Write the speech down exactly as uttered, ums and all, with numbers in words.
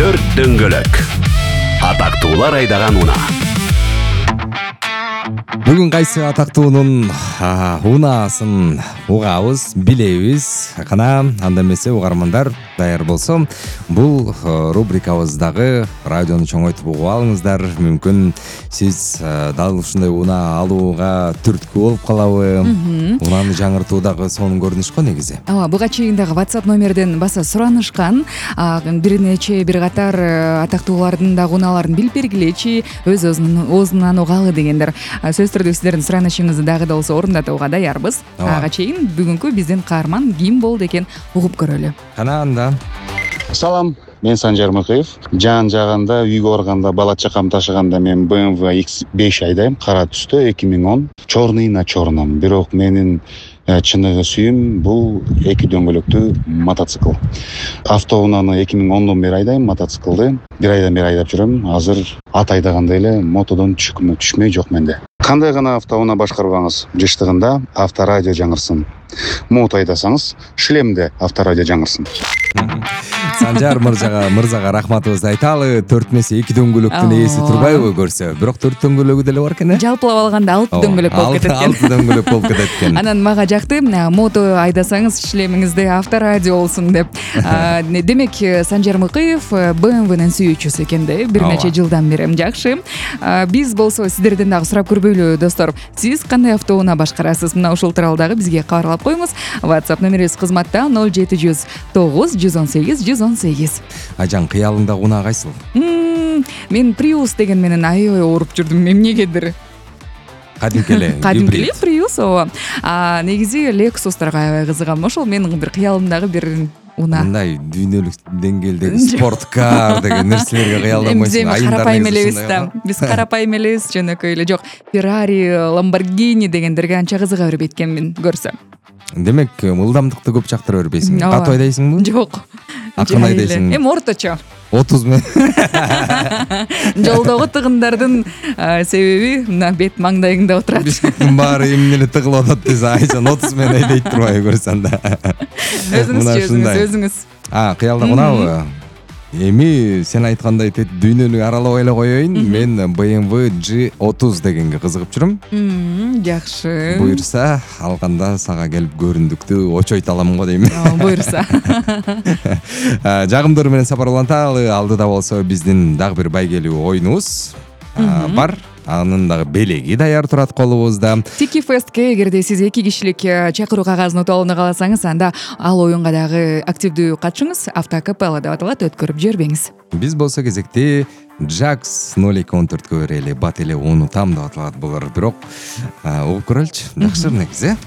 Төрт дөңгөлөк. Атактуулар айдаган унаа. Бүгүн кайсы атактуунун унаасын угабыз, билебиз. Кана анда эмесе угармандар даяр болсо, бул рубрикабыздагы радиону чоңойтуп угуп алыңыздар. Мүмкүн сиз дал ушундай унаа алууга түрткү болуп калабы? Унааны жаңыртуудагы сонун көрүнүш го негизи. Ооба, буга чейин дагы WhatsApp номерден баса суранышкан. Бир нече бир катар атактуулардын дагы унааларын билип бергилечи, өз оозунан угалы дегендер. Сөз түрдө сиздердин суранышыңызды дагы да болсо орундатууга даярбыз. Ага чейин бүгүнкү биздин каарман ким болду экен угуп көрөлү. Кана анда. Салам, мен Санжар Мыкыев. Жан жагында үйгө барганда, бала чакам ташыганда мен бэ эм вэ икс беш айдайм, кара түстө, эки миң он. Чорный на чорном. Бирок менин чыныгы сүйүм бул эки дөңгөлөктүү мотоцикл. Автоунааны эки миң ондон бери айдайм, мотоциклды бир айдан бери айдап жүрөм. Азыр ат айдагандай эле мотодон түшкүмө түшмөй жок менде. Кандай гана автоунаа башкарбаңыз, жыштыгында авторадио жаңырсын. Мото айдасаңыз, шлемде авторадио жаңырсын. Санжар мырзага мырзага рахматыбызды айталы. Төрт эмесе эки дөңгөлөктүн ээси турбайбы көрсө? Бирок төрт дөңгөлөгү деле бар экен э? Жалпылап алганда алты дөңгөлөк болуп кетет экен. алты дөңгөлөк болуп кетет экен. Анан мага жакты, мото айдасаңыз шлемиңизде авторадио болсун деп. Демек, Санжар Мыкыев бэ эм вэнин сүйүүчүсү экен да, бир нече жылдан бери. Жакшы. Биз болсо сиздерден дагы сурап көрбөйлү, достор. Сиз кандай автоунаа башкарасыз? Мына ушул тууралуу дагы бизге кабарлап коюңуз. WhatsApp номерибиз кызматта ноль жети жүз тогуз жүз он сегиз жүз он сегиз. Ажан, кыялыңда унаа кайсыл? Мен Prius деген менен аябай ооруп жүрдүм, эмнегедир. Кадимки эле. Кадимки эле Prius, ооба. А негизи Lexus'тарга аябай кызыгам. Ошол менин бир кыялымдагы бир унаа. Мындай дүйнөлүк деңгээлдеги спорткар деген нерселерге кыялданбайсың. Биз карапайым элебиз да. Биз карапайым элебиз, жөнөкөй эле. Жок, Ferrari, Lamborghini дегендерге анча кызыга бербейт экенмин көрсөм. Демек, ылдамдыкты көп жактыра бербейсиң. Катуу айдайсыңбы? Жок. Акырын айдайсың. Эми орточо. отуз мен. Жолдогу тыгындардын себеби мына бет маңдайыңда отурат. Бишкектин баары эмне эле тыгылып атат десе, Айжан отуз мен айдайт турбайбы көрсөң да. Өзүңүз өзүңүз өзүңүз. А, кыялда унабы? Эми сен айткандай дүйнөнү аралабай эле коеюн. Мен бэ эм вэ джи отуз дегенге кызыгып жүрөм. Жакшы. Буйрса, алганда сага келип көрүндүктү очойто алам го дейм. Буйрса. Жагымдуу менен сапар уланталы. Алдыда болсо биздин дагы бир байгелүү оюнубуз бар. Анын дагы белеги даяр турат колубузда. Тики Фестке эгерде сиз эки кишилик чакыруу кагазын утуп алууну кааласаңыз, анда ал оюнга дагы активдүү катышыңыз. Автокапелла деп аталат, өткөрүп жибербеңиз. Биз болсо кезекти Jax ноль эки он төрткө берели, бат эле унутам деп аталат булар. Бирок угуп көрөлүчү. Жакшы негизи.